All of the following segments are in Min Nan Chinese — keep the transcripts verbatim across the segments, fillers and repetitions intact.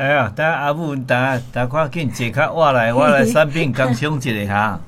哎呀，等阿母等等看緊坐較我來，我來產品工商一下哈。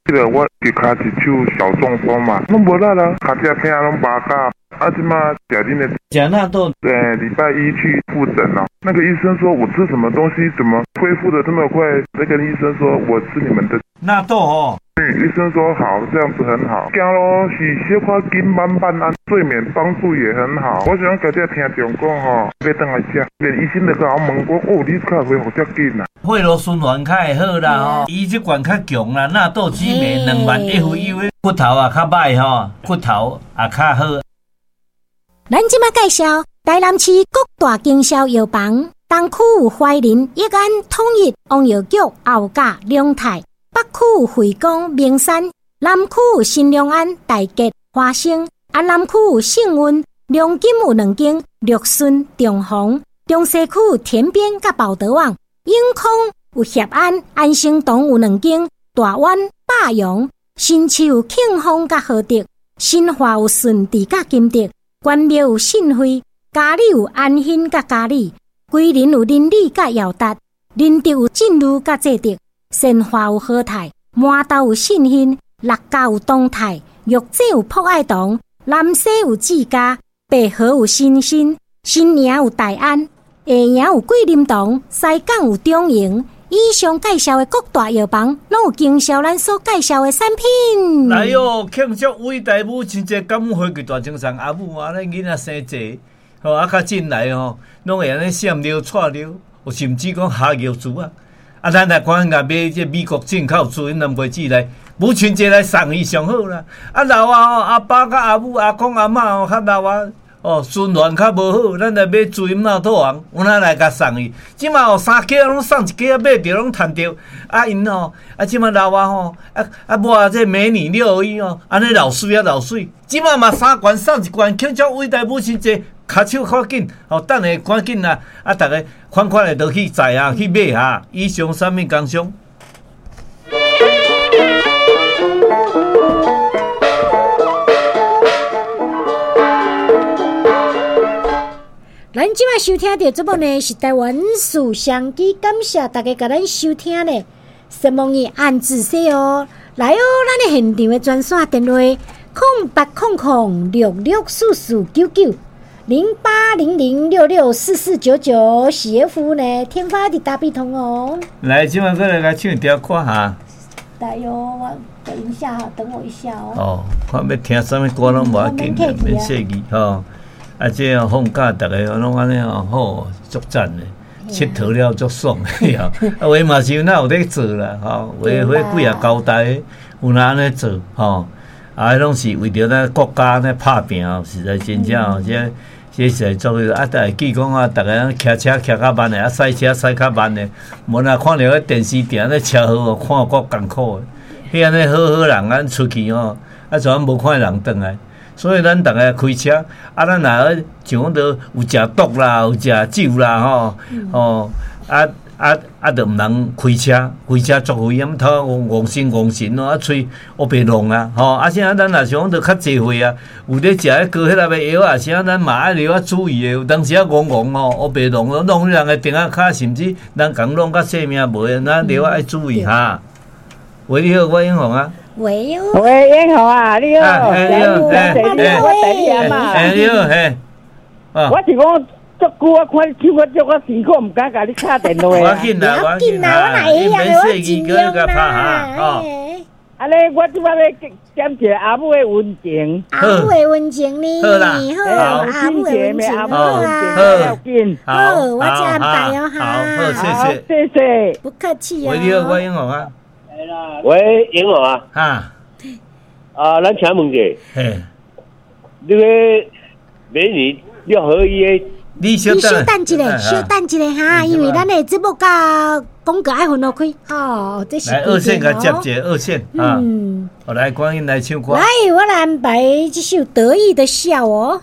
記得我一跤一手小中風嘛，攏無力啦，跤隻疼攏麻甲。啊，這馬食恁的，食納豆。對，禮拜一去復診咯。那個醫生說我吃什麼東西，怎麼恢復得這麼快？那個醫生說我吃你們的納豆哦。嗯，醫生說好，這樣子很好。走路是小可緊慢慢啊，睡眠幫助也很好。我想今日聽眾講吼，欲轉來食，連醫生都共我問講，哦，你較恢復遮緊啊？血路循環較會好啦吼，伊這罐較強啦，納豆激酶兩萬 F U 的骨頭也較歹吼，骨頭也較好。咱這馬介紹台南市各大經銷藥房，東區有懷仁、益安、統一、王藥局、後甲、龍泰；北區有惠光、明山；南區有新良安、大吉、華生；啊南區有幸運、龍金有兩間，六順、中宏；中西區有田邊佮寶德旺；永康有協安、安生堂有兩間，大灣、百陽；新市有慶豐佮和德；新化有順治佮金德。關廟有信惠，嘉里有安興佮嘉里，桂林有林里佮耀達，仁德有進如佮濟德，善化有和泰，麻豆有信興，六甲有東泰，玉井有朴愛堂，南勢有志嘉，白河有新興，新營有大安，下營有桂林堂，西港有中營。以上介紹的各大藥房，攏有經銷咱所介紹的產品。來喲，慶祝偉大母親節，感恩回歸大精神。阿母啊，咱囡仔生濟，吼啊，較進來吼，攏會按呢閃尿、掣尿，有甚至講下尿珠啊。啊，咱來趕緊共買這美國進口珠，因兩杯子來母親節來送伊上好啦。啊老啊吼，阿爸佮阿母、阿公阿嬤吼較老啊。哦，循環較無好，咱來買水納豆紅，有哪來共送伊？這馬哦，三家攏送一家，買著攏趁著。啊𪜶吼，啊這馬老啊吼，啊啊抹這美女六合一哦，按呢老媠啊老媠。這馬嘛三罐送一罐，慶祝偉大母親節，跤手較緊，哦，等下趕緊啊！啊，逐家款款的都去載啊，去買啊。以上產品工商。咱這擺收聽著節目呢，是台灣事商機，感謝大家共咱收聽呢。什麼伊按字說哦，來哦，咱的現場的專線電話：空八空空六六四四九九零八零零六六四四九九，是服務呢，天發的大必通哦。來，這擺閣來共唱一條歌哈。來喲，我等一下，等我一下哦。哦，看欲聽啥物歌攏無要緊，免說字吼。啊，這樣放假，逐个攏按呢吼，好足讚的，𨑨迌了足爽的吼。啊，有的嘛是有哪有咧做啦，吼，有的彼幾仔交代，有哪按呢做吼。啊，彼攏是為著咱國家咧拍拚，實在真正吼，這這是做啊，逐會記講啊，逐个騎車騎較慢的，啊，駛車駛較慢的，無若看著彼電視定咧車禍，看夠艱苦的。彼按呢好好人，咱出去吼，啊，怎無看人轉來？所以咱逐个開車，啊，咱若像講著有食毒啦，有食酒啦，吼，吼，啊啊啊，著毋通開車，開車足危險，頭戇神戇神哦，啊，喙烏白弄啊，吼，啊，啥咱若想講著較濟歲啊，有咧食彼高血壓的藥啊，啥咱嘛愛著愛注意的，有當時啊戇戇吼，烏白弄，弄人的頂仔跤，甚至人共弄甲性命無的，咱著愛注意哈。喂，你好，我英雄啊。喂喲，喂，英雄啊，你好，你好，我等你啊嘛。你好，嘿，我是講足久，我看你唱歌足我辛苦，毋敢共你敲電話。我緊啦，我緊啦，我哪會曉得我盡量啦。啊咧，我這擺欲點一個阿母的溫情。阿母的溫情呢？好啦，好，阿母的溫情，好啊，好，好，我這安排哦，哈，好，謝謝，謝謝，不客氣哦。喂，你好，我英雄啊。喂，英雄啊！哈，啊，咱請問者，嘿，你个美女六合一的，你小等一下，小等一下哈，因為咱的節目佮廣告愛分落開，吼，這是來二線共接一下，二線，嗯，我來趕緊來唱歌。來，我來安排這首得意的笑哦。